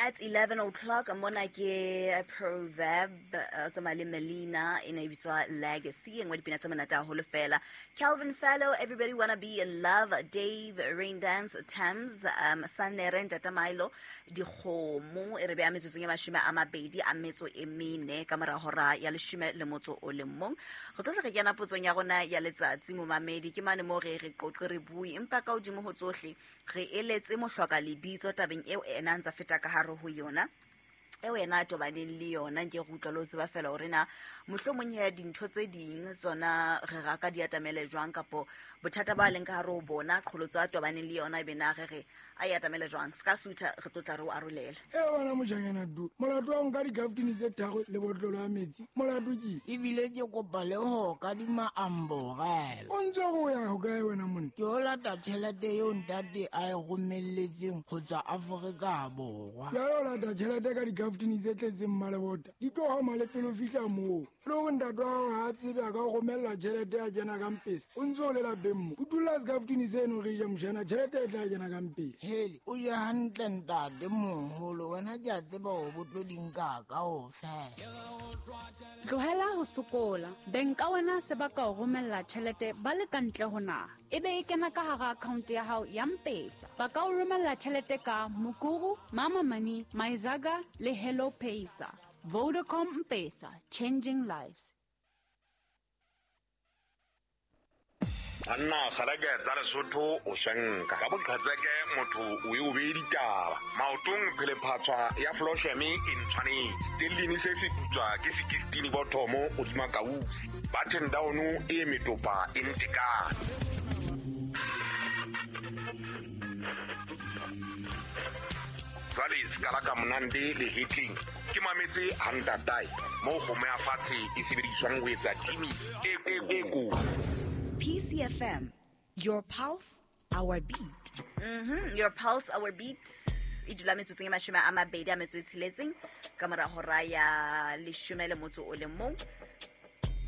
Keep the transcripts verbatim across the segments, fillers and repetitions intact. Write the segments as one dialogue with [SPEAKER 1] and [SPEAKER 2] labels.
[SPEAKER 1] At eleven o'clock mona ke Proverb tsamaya le Melina e ne e bitswa Legacy, e nngwe dipina tse monate haholo fela. Calvin Fellow, Everybody Wanna Be in Love, Dave Raindance Thames, um Sanere Ntata Milo Dikgomo e re beha metsotsong ya mashome a mabedi a metso e mene ka mora hora ya leshome le motso o le mong. Re tlo tla re kena potsong ya rona ya letsatsi momamedi, ke mane mo re re qoqe re bue empa ka hodimo ho tsohle re eletse mohloka lebitso tabeng eo ena ntsa feta ka hare ho yona eo yena a tobaneng le yona. Nke re utlwa le ho tseba fela hore na mohlomong ya dintho tse ding tsona re raka di atamele jwang, kapo bothata ba leng ka hare ho bona qholotso a tobaneng le yona ebe na re re a e atamele jwang. Se ka sutha re tlo tla re o arolela.
[SPEAKER 2] E wena mojanyana du molato wa nka dikaftini tse tharo le botlolo ya metsi molato ke
[SPEAKER 3] ebile ke kopa le ho kadima amborela.
[SPEAKER 2] O ntse o ya ho kae wena monna?
[SPEAKER 3] Ke o lata tjhelete eo ntate a e romelletseng ho tswa Afrika Borwa.
[SPEAKER 2] Ya o lata tjhelete ka dikaftini tse tletseng mmalebota di tlo homa le pele o fihla moo. Le hore ntate wa hao ha a tsebe a ka o romella tjhelete ya kena ka mpesa o ntse o le lapeng mo o dula sekaftini seno re ja mojana tjhelete e tla kena ka mpesa.
[SPEAKER 3] Hele o je hantle ntate moholo, wena ke a tseba hore bo tlo di nka kaofela.
[SPEAKER 4] Tlohela ho sokola, beng ka wena se ba ka o romella tjhelete ba le ka ntle ho naha, ebe e kena ka hara account ya hao ya M-Pesa. Ba ka o romella tjhelete ka Mukuru, Mama Money, Maizaga le Hello Pesa. Vodacom M-Pesa, changing lives.
[SPEAKER 5] Anna kgaleke tsa Lesotho o shanka ka boqhatseke motho o e o be ditaba maotong phele phatswa ya Flosheme e ntshwanetse stellini se se putswa ke sixteen bothomo o dima kausi button down e metopa e ntekane. Jwale skala ka monande le hitling ke mametse hantatai mo kgomo ya fatshe e sebediswang ho etsa timi e e ko.
[SPEAKER 1] P C F M, your pulse, our beat. Mm-hmm. Your pulse, our beat. E dula metsotsong e mashome a mabedi a metso e tsheletseng ka mora hora ya leshome le motso o le mong.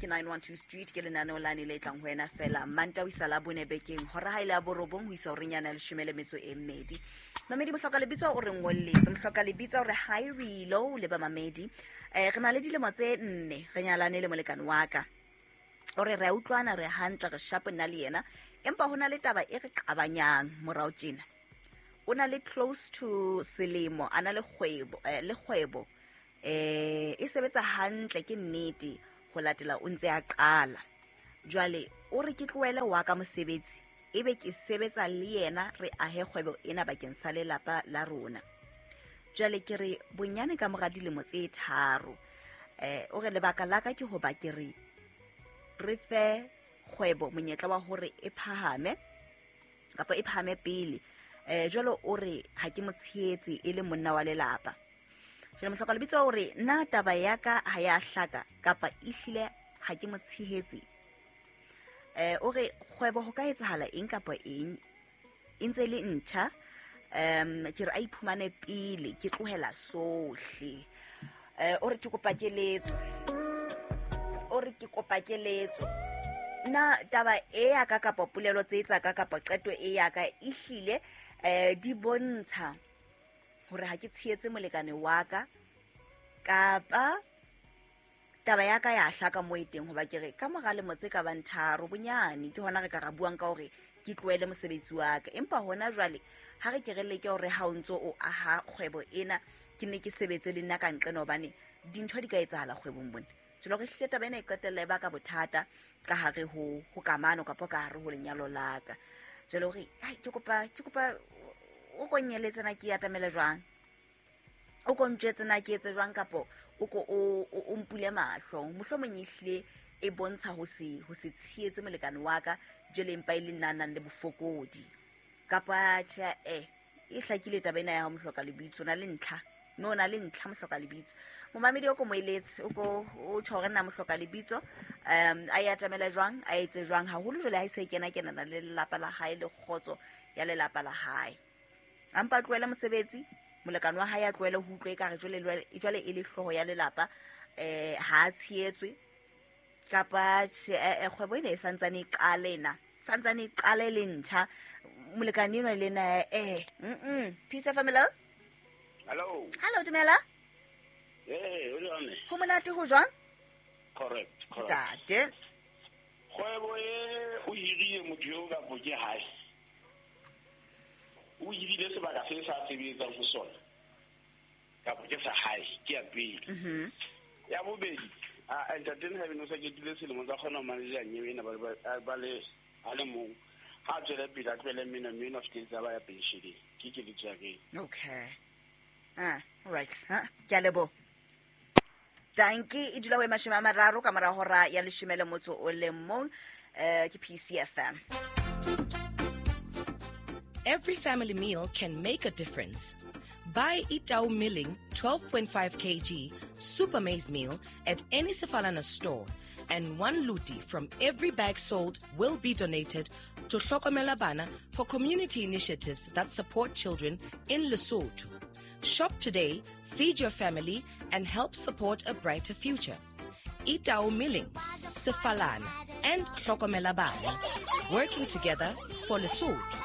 [SPEAKER 1] Ke nine one two Street ke lenaneo lane le tlang ho wena fela Manta ho isa la bone bekeng hora ha ile ya borobong ho isa horeng yana leshome le metso e mmedi. Mamedi mohloka lebitso o re ngolletse mohloka lebitso o re hi Relo le ba mamedi. Eh re na le dilemo tse nne re nyalane le molekane wa ka. O re re utlwana re hantle re shapo nna le yena empa hona le taba e re qabanyang morao tjena. O na le close to selemo ana le kgwebo eh, le kgwebo eh e sebetsa hantle ke nnete ho latela o ntse a qala. Jwale o re ke tlohele wa ka mosebetsi ebe ke sebetsa le yena re ahe kgwebo ena bakeng sa lelapa la rona. Jwale ke re bonyane ka mora dilemo tse tharo eh o re lebaka la ka ke hoba ke re re fe kgwebo monyetla wa hore e phahame kapa e phahame pele. Eh jwalo o re ha ke mo tshehetse e le monna wa lelapa. Jwale mohloka lebitso o re nna taba ya ka ha ya hlaka kapa ehlile ha ke mo tshehetse. Eh o re kgwebo ho ka etsahala eng kapa eng e ntse le ntjha um ke re a iphumane pele ke tlohela sohle. Eh o re ke kopa keletso. O re ke kopa keletso. Na taba e ya ka kapa polelo tse tsa ka kapa qeto e ya ka ehlile eh di bontsha hore ha ke tshehetse molekane wa ka kapa taba ya ka ya hlaka mo e teng hoba ke re ka mora lemo tse ka bang tharo bonyane ke hona re ka ra buang ka hore ke tlohele mosebetsi wa ka. Empa hona jwale ha re ke re leke hore ha o ntso o aha kgwebo ena ke ne ke sebetse le nna ka nqena hobane dintho di ka etsahala kgwebong bona. Jwale re hlile taba ena e qetella e baka bothata ka hare ho ho kamano kapa ka hare ho lenyalo la ka. Jwale hore ai ke kopa ke kopa o konyeletse na ke atamele jwang, o ko ntjwetse na ke etse jwang kapo o ko o o mpule mahlo. Mohlomong ehlile e bontsha ho se ho se tshehetse molekane wa ka jwale empa e le nna nang le bofokodi kapa tjhe eh e hlakile taba ena ya ho mohloka lebitso na le ntlha mme o na le ntlha mohloka lebitso. Momamedi o ko moeletse o ko o tjho hore nna mohloka lebitso um a e atamela jwang a etse jwang haholo jwale ha e se e kena kenana le lelapa la hae le kgotso ya lelapa la hae. Ampa tlohele mosebetsi molekane wa hae a tlohele ho utlwa ekare jwale jwale e le hlooho ya lelapa eh ha a tshehetswe kapa kgwebo ena e santsane e qale na santsane e qale le ntjha molekane enwa le ena eh mm Peace F M.
[SPEAKER 6] Hello.
[SPEAKER 1] Hello, dumela.
[SPEAKER 6] Hey, o jwang?
[SPEAKER 1] Ho monate ho jwang?
[SPEAKER 6] Correct, correct.
[SPEAKER 1] Ntate.
[SPEAKER 6] Kgwebo e o hirile motho eo kapo ke hae. O hirile sebaka se sa sebetsang ho sona. Kapo ke sa hae, ke ya pele.
[SPEAKER 1] Mhm.
[SPEAKER 6] Ya bobedi, a entertain ha beno sa ketile selemo tsa kgona ho manager nyewe ena ba ba ba le a le mong. Ha tswele pele a tlohele mmino mmino fetsa ba ya pension. Ke keletso ya ke.
[SPEAKER 1] Okay. Ah, all right. Ha, ke a leboha. Danki e dula ho e mashome a mararo ka mora hora ya leshome le motso o le mong, eh ke P C F M.
[SPEAKER 7] Every family meal can make a difference. Buy Itau Milling twelve point five kilograms Super Maize Meal at any Sefalana store, and one luti from every bag sold will be donated to Hlokomela Bana for community initiatives that support children in Lesotho. Shop today, feed your family, and help support a brighter future. Itau Milling, Sefalana, and Hlokomela Bana, working together for Lesotho.